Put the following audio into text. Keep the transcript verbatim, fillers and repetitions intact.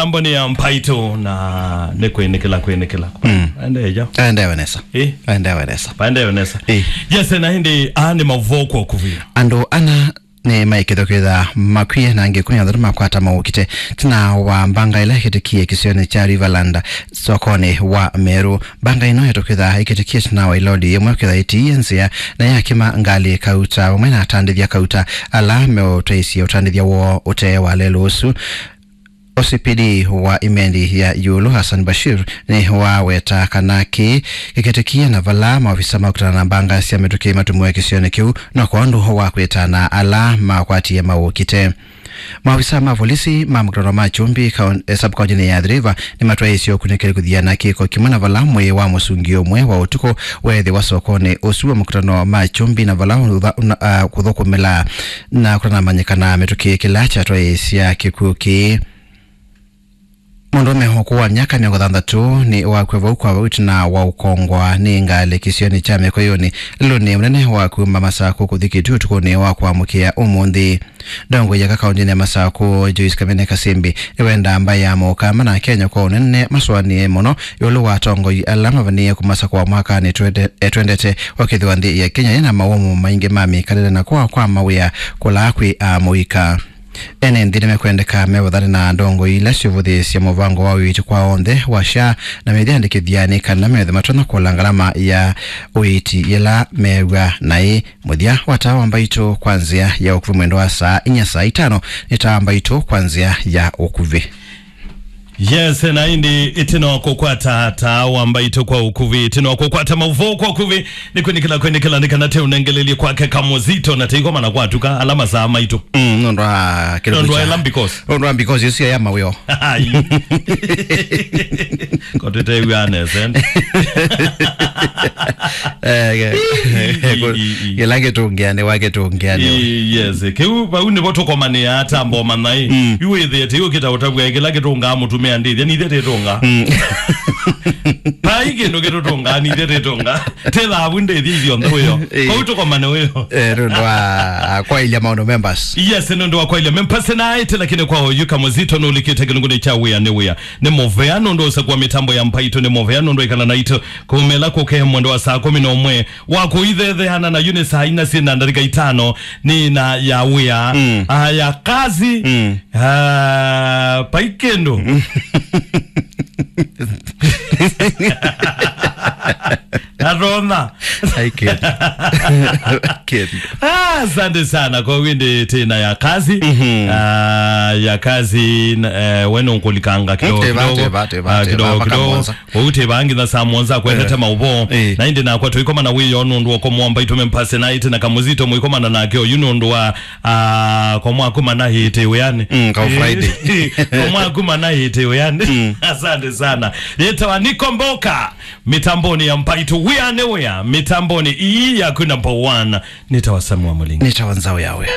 Amboni ya Mbaitũ na nĩ kwĩnĩkĩla, kwĩnĩkĩla. Mm. Aendeea. Aendeea nesa. Eh? Aendeea nesa. Aendeea nesa. Eh. Yes, na ĩndĩ, aa nĩ maũvoo kwa ũkuvĩ. Andũ ana nĩmaĩkĩthwa kwĩtha makwie na angĩ kumi na atatũ makwata maũkite. Ĩtina wa mbanga ĩla ĩkĩtĩkie kĩsionĩ kya Riverland, sokonĩ wa Meru. Mbanga ĩno ĩtũkwĩtha ĩkĩtĩkie ĩtina wa ĩloli ĩmwe kwĩtha ĩtiie nzĩa na yakĩma ngalĩ kauta vamwe na atandĩthya kauta ala meũtwaĩsye ũtandĩthya woo ũte wa lelũ ũsu. O C P D wa Imenti ya Ĩũlũ, Hassan Bashir, nĩwaweta kana kĩĩ kĩkĩtĩkie na vala maovisa makutana na mbanga sya mĩtũkĩ matũmĩwe kĩsionĩ kĩu no kwa ũndũ wa kwĩtana ala makwatie maũkite. Maovisa ma volisi ma mũkutano ma Kyumbi kaun-, eh, sub-kauntinĩ ya Athi River nĩmatwaĩĩsye ũkunĩkĩli kũthiana kĩko kĩmwe na vala mwĩĩ wa mũsungi ũmwe wa ũtukũ weethĩwa sokonĩ ũsu wa mũkutano ma Kyumbi na vala ũtha-, ũna-, ah, kũthũkũmĩla na kũtanamanyĩkana mĩtũkĩ kĩla kyatwaĩĩsya kĩkw'ũ kĩĩ. Mũndũũme ũkũũ wa myaka mĩongo thanthatũ nĩwakw'a vau kwa vau ĩtina wa ũkongwa nĩ ngalĩ kĩsionĩ kya Mĩkũyũnĩ, lelũnĩ mũnene wa kuma Masakũ kũthi Kĩtutu ũtukũnĩ wa kũamũkĩa ũmũnthĩ. Ndongoi ya kauntinĩ ya Masakũ, Joyce Kamene Kasimbi, nĩwendaa mbaĩ ya Mũkamba na Kenya kwa ũnene masũanĩe mũno ĩũlũ wa atongoi ala mavanĩĩe kũmasakũa mwakanĩ twende-, eh, twendete, ũkĩthĩwa nthĩ ya Kenya yĩna mawũmũ maingĩ ma mĩkalĩle na kũa kwa mawĩa kũla kwĩ amũika. Ene nthĩ nĩmekwendeka mevathane na ndongoi ila syũvũthĩĩsya mũvango wa ũiiti kwa onthe wa SHA na mĩyĩandĩkĩthya nĩ kana methe matonya kũla ngalama ya ũiiti yĩla meew'a naĩ. Mũthya wa taa wa Mbaitũ kwa nzĩa ya ũkuvĩ mwendo wa saa inya saa itano nĩ taa wa Mbaitũ kwa nzĩa ya ũkuvĩ. Yes, na ĩndĩ ĩtina wa kũkwata taa wa Mbaitũ kwa ũkuvĩ, ĩtina wa kũkwata maũvoo kwa ũkuvĩ, nĩ kwĩnĩkĩla, kwĩnĩkĩla nĩ kana te ũnengelelye kwake Kamũzito na te ikomana kwatuka ala masaa maitũ. Mm, nũndũ wa kĩndũ nũndũ wa kya ĩla because. Nũndũ wa because ĩsu ya mawĩo. Ai. Ko tũtew'a nesa. Eh, ke-, Ii, ii, ii. Kĩla kĩtũngĩanĩwa, kĩtũngĩanĩwa. Ii, yes. Kĩu, vau nĩvo tũkomanĩaa ta mboma naĩ. Mm. Yu wĩthĩe, te yu kĩtaũtavw'a kĩla kĩtũngaa mũtumĩa ndĩthya, nithe tĩtũngaa. Mm. Vai kĩndũ kĩtũtũngaa, nithe tĩtũngaa. Te thavu ndĩthya ithyonthe wĩo. Ii. Vau tũkomane wĩo. Eh, nũndũ wa kwaĩlya maũndũ members. Yes, nũndũ wa kwaĩlya members na aĩte, lakini kwa oyu Kamũzito nũlikĩte kĩlungunĩ kya wĩa nĩ wĩa. Nĩ mũvea nũndũ ũsakũa mĩtambo ya Mbaitũ, nĩ mũvea nũndũ ĩkala naitũ. Kũmela kũke mwendo wa saa kũmi na ũmwe wa kũithetheana na yu nĩ saa inya syĩ na ndatĩka itano nĩ na ya wĩa. Mm. Ah, ya kazi. Mm. Ah, vai kĩndũ. Natona. Ai, kĩndũ. Kĩndũ. Ah, asante sana kwa windi tena ya kazi. Mhm. Ah, ya kazi, n-, eh, weno nkulikanga kidogo, teba, kidogo. Teba, teba, ah, teba, kidogo, mpaka kidogo. Mwanza. Ũu teba nginya saa mũonza kwendete maũvoo. Eh. Na ĩndĩ nakwa tũikomana wĩoo nũndũ wa kũmwamba itũme mpase na ĩte na Kamũzito mũikomana nake oyu nũndũ wa, ah, kwa mwaku mana ĩte wĩanĩ. Mm, kwa Friday. Kwa mwaku mana ĩte wĩanĩ. Mm. Asante sana. Yetawa Nikomboka. Mitamboni ya Mbaitũ, wĩa nĩ wĩa. Mitamboni ii yaku number one. Nĩtawa Samuel Mũlingi. Nĩtawa Nzau ya Wĩa.